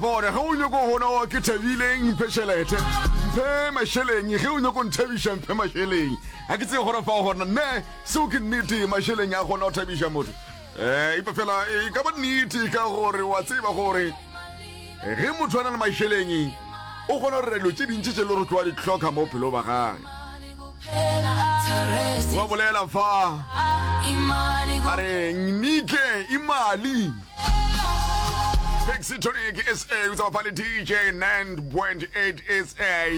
fa gore ge o nyoko gona wa ke thabile mphe tšhelete mphe mašeleng ge o nyoko nthabiša mphe mašeleng ga ke tsebe gore fa gona ne seo ke nnete mašeleng a kgona go thabiša motho um epa fela e ka ba nnete ka gore wa tseba gore ge motho a na le mašeleng o kgona go dira dilo tše dintši tše le gore tloa di hloka mo bophelong ba gage wa bolela fa a re nike imali Pixitonic SA o tsaba le DJ 9.8 SA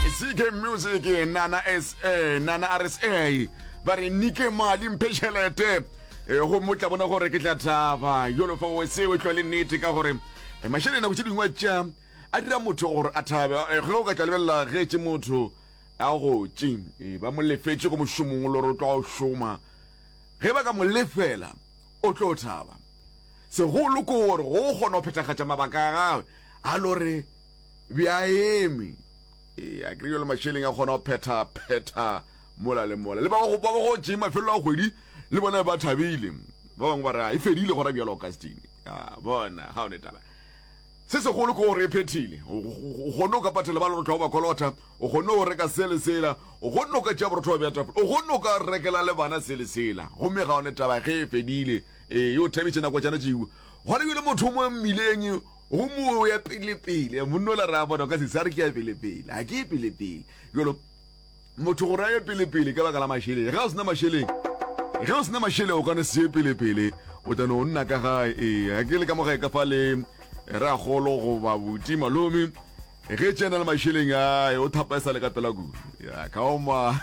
CK Music Nana SA Nana RSA ba re nike mali mphe tšhelete e gomme o tla bona gore ke tla thaba jalo fa o seo e tlwa le nnete ka gore eh, mašeleng nako tše dingwe tša a dira motho gore a thabe eh, ge o ka tla lebelela ge tše motho a gotše eh, ba mo lefetše ko mošomong o le gore o tla o šoma ge ba ka mo lefela o tlo thaba segolo ke gore go kgona go phethagatša mabaka a gagwe a lo re bja eme ee a kry le mašeleng a kgona go phetha phetha mola le mola le ba ba go tšee mafelelo a kgwedi le bona ba thabile ba bangwe ba re e fedile gona bjalo augustine a bona ga o ne taba se segolo ke gore e phethile o kgonne o ka patela ba le gore ba kolota o kgonne go reka se le sela o kgonne o ka tšea borotho wa bja tafole o kgonne o ka rekela le bana se le sela gomme ga o ne taba ge e fedile ee yo thabitše nako tšana tšeo gona bjale motho o mo mmileng gomme o ya pelepele monna o la re a bona ka se sa re ke ya pelepele ga ke ye pelepele jalo Motho gore a ye pele-pele ka baka la mašeleng. Ge o sena mašeleng, ge o sena mašeleng o ka no se ye pele-pele, o tla no nna ka gae. Ee, ga ke le ka mo gae ka fa le rakgolo goba buti malome, ge tšena le mašeleng a o thapa e sa le ka pela kudu. Ya ka oma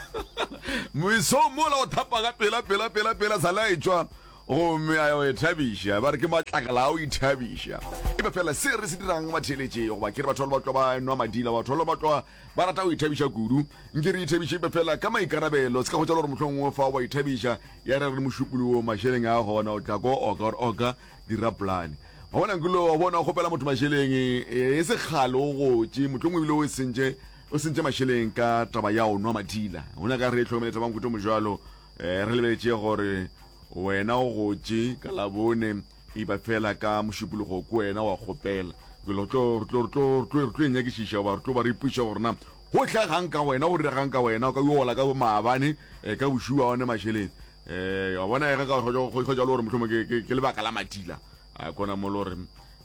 mesong mola o thapa ka pela pela pela pela sa le a etšwa gomme a ya go ithabiša. Ba re ke matlakala a go ithabiša. E ba fela se re se dirang batheeletše goba ke re batho ba ba tloga ba nwa madila, batho ba ba tloga Ba rata go ithabiša kudu. Nke re ithabiše epe fela ka maikarabelo. Se ka hwetša le gore mohlomongwe fa wa ithabiša ya re re mošupologo mašeleng a gona o tla ko oka gore oka dira polane. Wa bona nkile wa bona o kgopela motho mašeleng e se kgale o gotše mohlomongwe ebile o sentše o sentše mašeleng ka taba ya o nwa madila. O nyaka re hlokomele taba nkuto mojalo eh, re lebeletše gore wena o gotše ka labone E ba fela ka Mošupologo ke wena wa kgopela. Jalo re tlo, re tlo, re tlo, re tlo, re tlo e nyakišiša goba re tlo ba re ipotšiša gore na go hlagang ka wena, go diregang ka wena, o ka yo ola ka maabane eh, ka bošuu a one mašeleng. Eh, wa bona ge ka go go jalo gore mohlomong ke, ke, ke lebaka la madila. A kona mo le gore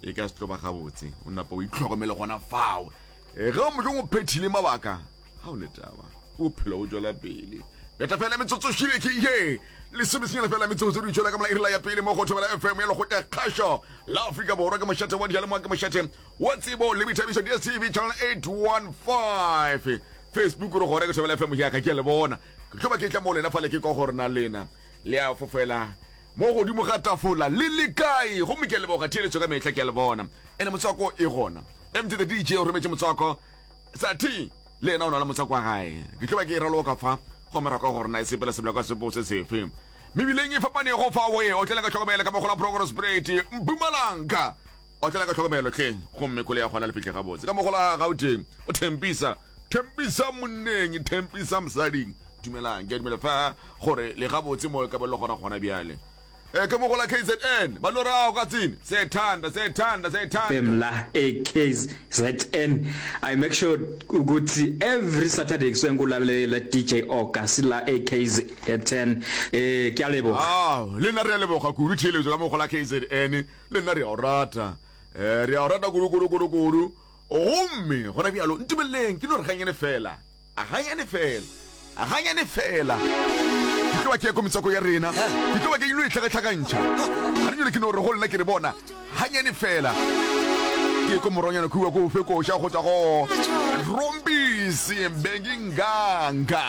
e ka se tlo ba gabotse. O napa o itlhokomele gona fao. Eh, ge mohlomong o phethile mabaka, ga o ne taba bophelo bo tšwela pele beta fela metsotso šile ke ye lesomesenyana fela metsotso di tšwela ka mola irela ya pele mo go thobela fm ya lekgotla kgašo la afrika borwa ke mošate wa dijalemoa ke mošate wa tsebo le boithabišo dstv channel 815 facebook re gore ke thobela fm yaka ke a le bona ke tlo ba ke tla mo lena fale ke kwa gore na lena le a fofela mo godimo ga tafola le le kae gomme ke a leboga theeletšo ka mehla ke a le bona ene motswako e gona mt the dj o rometše motswako Sathi le yena o na le motswako wa gae. Ke tlo ba ke e raloka fa, gomme ra kwa gore na e sepela sebla ka sepo se sefe. Mebileng e fapanego fa o e otlela ka tlhokomelo ka mogola Progress Parade, Mpumalanga. Otlela ka tlhokomelo hle, gomme koloi ya gona le fihle gabotse. Ka mogola Gauteng, o thempisa, thempisa monneng, thempisa mosading. Dumelang, ke a dumela fa gore le gabotse mo e ka ba le gona gona bjale. E ke mogola KZN ba lorago ka tsene sethanda sethanda sethanda. FM la eKZN I make sure ukuthi every Saturday kusuke ngikulalela DJ Oka sila eKZN eh ke a leboga. Ah, le nna re a leboga kudu theeletšo ka mogola KZN le nna re a o rata eh re a o rata kudu kudu kudu kudu gomme gona bjalo ntumeleleng ke no re ganyane fela A ganyane fela, a ganyane fela. Ke tlo ba ke ya ko metswako ya rena, ke tlo ba ke ilo e hlakahlakantšha. Ga re nyole ke no re go lena ke re bona, ganyane fela. Ke ko morwanyana kua ko fe koša go tšwa go Rombisi Benginganga.